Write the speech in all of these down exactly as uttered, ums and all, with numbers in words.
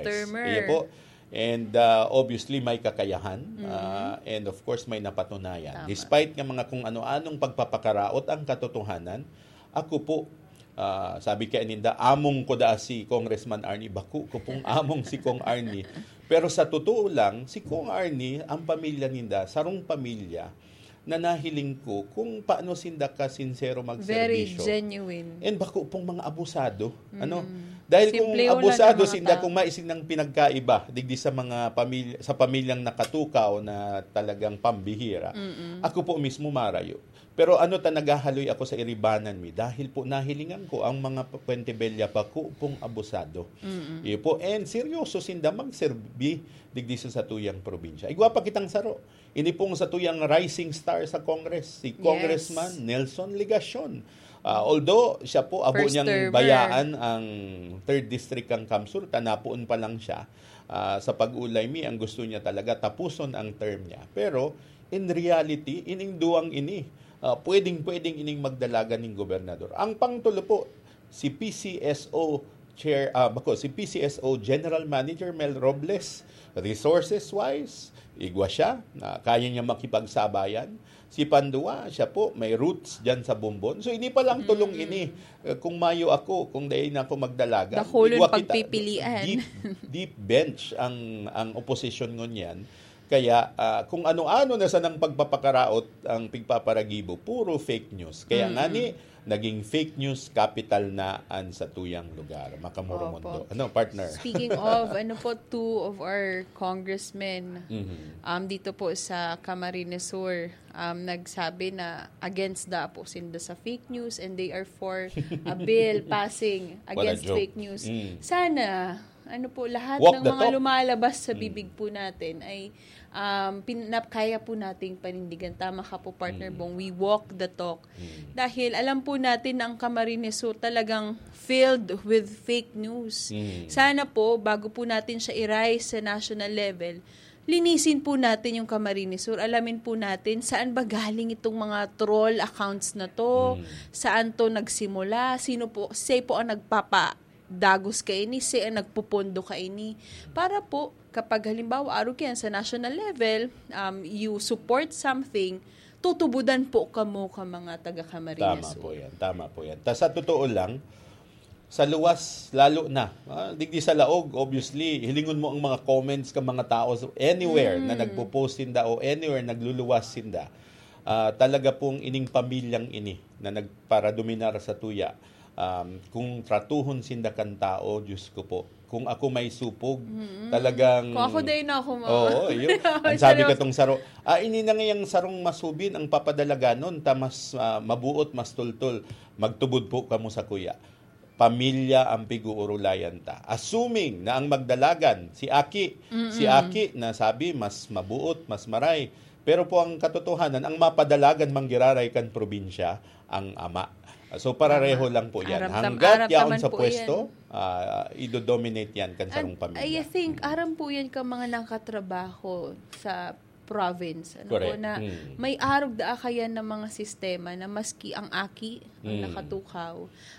termer. Iya po. And, ah, obviously, may kakayahan. Ah, and of course, may napatunayan. Tama. Despite nga mga kung ano-anong pagpapakaraot ang katotohanan, ako po, ah, sabi kay ninda, "Among ko daa si Congressman Arnie." Bako ko pong among si Cong Arnie. Pero sa totoo lang, si Cong Arnie, ang pamilya ninda, sarong pamilya na nahiling ko kung paano sinda ka sinsero Very magserbisyo. Genuine. And bako pong mga abusado. Ano? Mm. Dahil kung Simplehon lang abusado ang mga sinda, tao. Kung may sinang pinagkaiba, digdi sa mga pamilya, sa pamilyang nakatukaw na talagang pambihira, Mm-mm. ako po mismo marayo. Pero ano ta, naghahaloy ako sa iribanan mi dahil po nahilingan ko ang mga p-, Puente Bella bako pong abusado. Mm-mm. Iyo po, and seryoso sinda magserbi digdi sa satuyang probinsya. Igwa pa kitang saro. Ini pong satuyang rising star sa Congress, si Yes. Congressman Nelson Legacion. Ah, although siya po, abo First niyang termer. Bayaan ang third District kan CamSur, tanapoon pa lang siya. Ah, sa pag-ulay mi, ang gusto niya talaga, tapuson ang term niya. Pero, in reality, ining duwang ini, ah, pwedeng-pwedeng ining magdalagan ning gobernador. Ang pangtulo po, si P C S O Chair, ah, bako, si P C S O General Manager Mel Robles, resources-wise, igwa siya, na kaya niya makipagsabayan. Si Pandua, siya po, may roots dyan sa Bombon. So, ini pa lang tulong Mm. ini. Eh, kung mayo ako, kung dai na ako magdalagan, Dakulon igwa kita, pagpipilian. Deep, deep bench ang, ang oposisyon ngunyan. Kaya, ah, kung ano-ano na sanang pagpapakaraot ang pigpaparagibo, puro fake news. Kaya Mm. ngani, naging fake news capital na an satuyang lugar. Makamoromondo. Opo. Ano, partner? Speaking of, ano po, two of our congressmen, Mhm. um, dito po sa Camarines Sur, um, nagsabi na against da po sinda sa fake news and they are for a bill passing What a against joke. Fake news. Mm. Sana, ano po, lahat Walk ng the mga talk. Lumalabas sa Mm. bibig po natin ay, um, pin-, na, kaya po nating panindigan. Tama ka po, partner Mm. Bong. We walk the talk. Mm. Dahil alam po natin na ang Camarines Sur talagang filled with fake news. Mm. Sana po, bago po natin siya i-rise sa national level, linisin po natin yung Camarines Sur. Alamin po natin saan ba galing itong mga troll accounts na to, Mm. saan to nagsimula, sino po, siya po ang nagpapa-, dagos kaini, siya ang nagpupondo kaini. Para po, kapag halimbawa, arog yan sa national level, um, you support something, tutubudan po kamo ka mga taga-Camarines Tama Sur. Po yan, tama po yan. Ta, sa totoo lang, sa luwas, lalo na, ah, digdi sa laog, obviously, hilingon mo ang mga comments ka mga tao so, anywhere na Mm. nagpo-post sinda o anywhere nagluluwas sinda, ah, talaga pong ining pamilyang ini na nagparadominar sa tuya, um, kung tratuhon sinda kan tao, Diyos ko po, kung ako may supog, Mm-mm. talagang Kung ako, dai na ako ma- Oo, yun. Ang sabi Seryoso. Katong saro, "Ah, ini na ngayang sarong masubin ang papadalaganon, ta mas, ah, mabuot, mas tultol. Magtubod po kamo sa kuya." Pamilya ang pig-uurulayan ta. Assuming na ang magdalagan, si Aki, Mm-mm. si Aki na sabi, mas mabuot, mas maray. Pero po ang katotohanan, ang mapadalagan manggiraray kan probinsya, ang ama. So, parareho Tama. Aram tam-, aram taman po yan. Hanggat yaon sa pwesto, ah, idodominate yan kan sarong pamilya. And I think, aram po yan ka mga nakatrabaho sa province. Ano po Correct. Na Mm. may arog daa kayan na mga sistema na maski ang aki ang Mm. nakatukaw,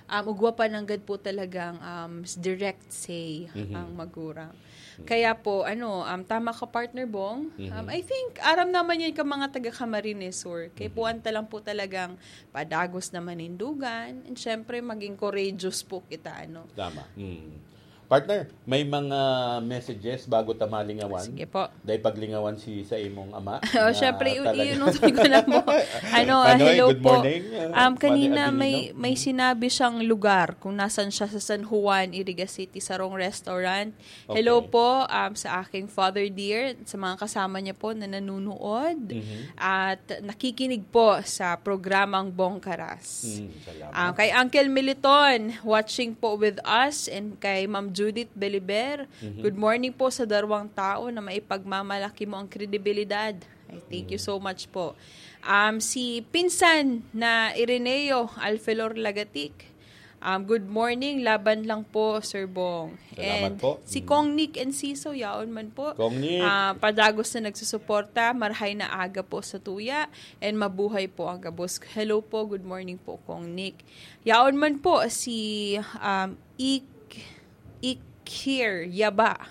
um, ugwa pa nanggad po talagang, um, s-, direct say Mhm. ang magurang. Mhm. Kaya po, ano, um, tama ka, partner Bong. Mhm. Um, I think, aram naman yan ka mga taga Camarines Sur. Kaya Mhm. puwan ta lang po talagang padagos na manindugan. And syempre, maging courageous po kita, ano. Tama. Mm. Partner, may mga messages bago ta malingawan? Sige po. Dahil paglingawan si sa imong ama Oh, na syempre, i-, talaga iunoy ko na po. Ano, ah, Manoy, hello good po. Morning. Ah, Um, Manoy kanina may, Abilino. May Mm. sinabi siyang lugar kung nasan siya sa San Juan, Iriga City, sarong restaurant. Hello Okay. po, um, sa aking father dear, sa mga kasama niya po na nanunood. Mhm. At nakikinig po sa programang Bongkaras. Mm, salamat. Ah, kay Uncle Militon, watching po with us, and kay Ma'am Judith Beliber, Mhm. good morning po sa darwang tao na maipagmamalaki mo ang kredibilidad. Ay, thank you Mm. so much po. Um, si Pinsan na Ireneo Alfelor Lagatik, um, good morning, laban lang po, Sir Bong. Salamat And po. si Mm. Kong Nick Enciso, yaon man po. Kong Nick. Ah, padagos na nagsusuporta, marahay na aga po sa tuya, and mabuhay po ang gabos. Hello po, good morning po, Kong Nick. Yaon man po si, um, Ik-, Ikir Yaba.